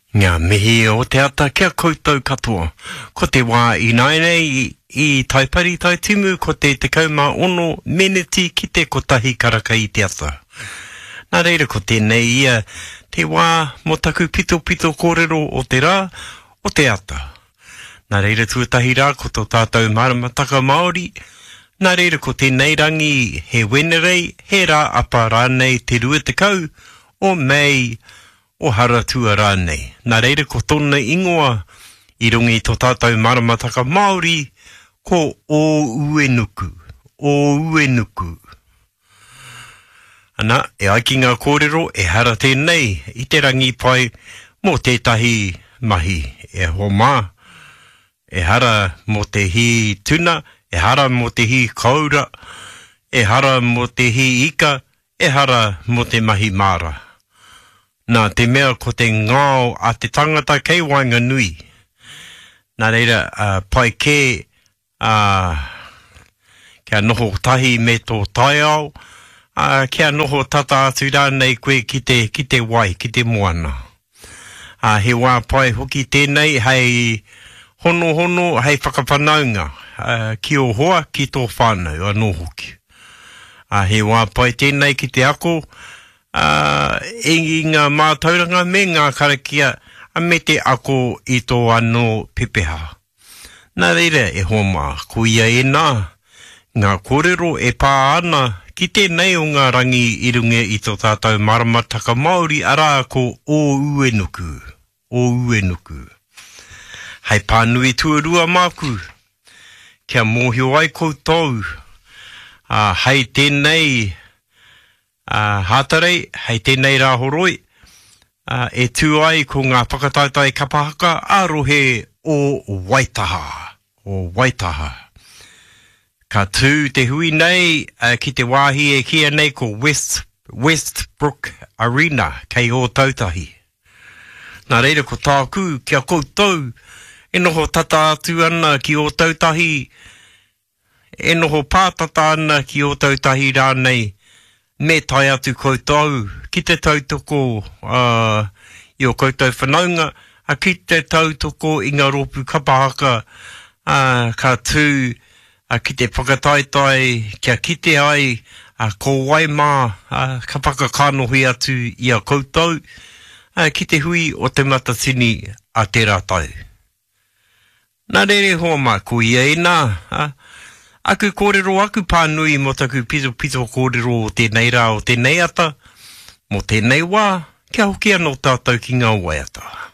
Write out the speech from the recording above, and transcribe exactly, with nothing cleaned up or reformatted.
Ngā mihi o te ata kia koutou katoa. Ko te wā ināianei i, i Taipari Taitimu ko te tekau mā ono meneti ki te kotahi karaka i te ata. Nā reira ko tēnei ia te wā mō taku pitopito kōrero o te rā, o te ata. Nā reira tuatahi rā ko tō tātou maramataka Māori, nā reira ko tēnei rangi he Wenerei, he rā apa rānei te rua tekau o Mei, o Haratua rānei. Nā reira ko tōna ingoa i runga i tō tātou maramataka Māori, ko Ōuenuku, Ōuenuku. Ana, e ai ki ngā kōrero, ehara tēnei i te rangi pai mō tētahi mahi. E hoa mā, ehara mō te hī tuna, ehara mō te hī koura, ehara mō te hī ika, ehara mō te mahi māra. Nā te mea ko te ngao a te tangata kei waenganui. Nā reira, uh, pai kē, uh, kia noho tahi me tō taiao, uh, kia noho tata atu rānei koe ki te, ki te wai, ki te moana. Uh, he wā pai hoki tēnei hei honohono, hei whakawhanaunga, uh, ki ō hoa, ki tō whānau anō hoki. Uh, he wā pai tēnei ki te ako, uh, i ngā mātauranga me ngā karakia, me te ako i tō anō pepeha. Nā reira e hoa mā, ko ia ēnā, ngā kōrero e pā ana ki tēnei o ngā rangi i runga i tō tātou maramataka Māori, arā ko Ōuenuku, Ōuenuku. Hei pānui tuarua māku, kia mōhio ai koutou, uh, hei tēnei uh, Hātarei, hei tēnei rā horoi, uh, e tū ai ko ngā whakataetae kapa haka a rohe o Waitaha, o Waitaha. Ka tū te hui nei uh, ki te wāhi e kīia nei ko West, Westbrook Arena, kei Ōtautahi. Nā reira ko tāku kia koutou e noho tata atu ana ki Ōtautahi, e noho pātata ana ki Ōtautahi rānei, me tae atu koutou ki te tautoko uh, i o koutou whanaunga, a ki te tautoko i ngā rōpū kapa haka, uh, ka tū uh, ki te whakataetae kia kite ai uh, ko wai mā uh, ka whakakanohi atu i a koutou uh, ki te hui o Te Matatini a tērā tau. Nā reira hoa mā, ko ia ēnā, uh, aku kōrero, aku pānui mō taku pitopito kōrero o tēnei rā, o tēnei ata, mō tēnei wā, kia hoki anō tātou ki ngā waiata.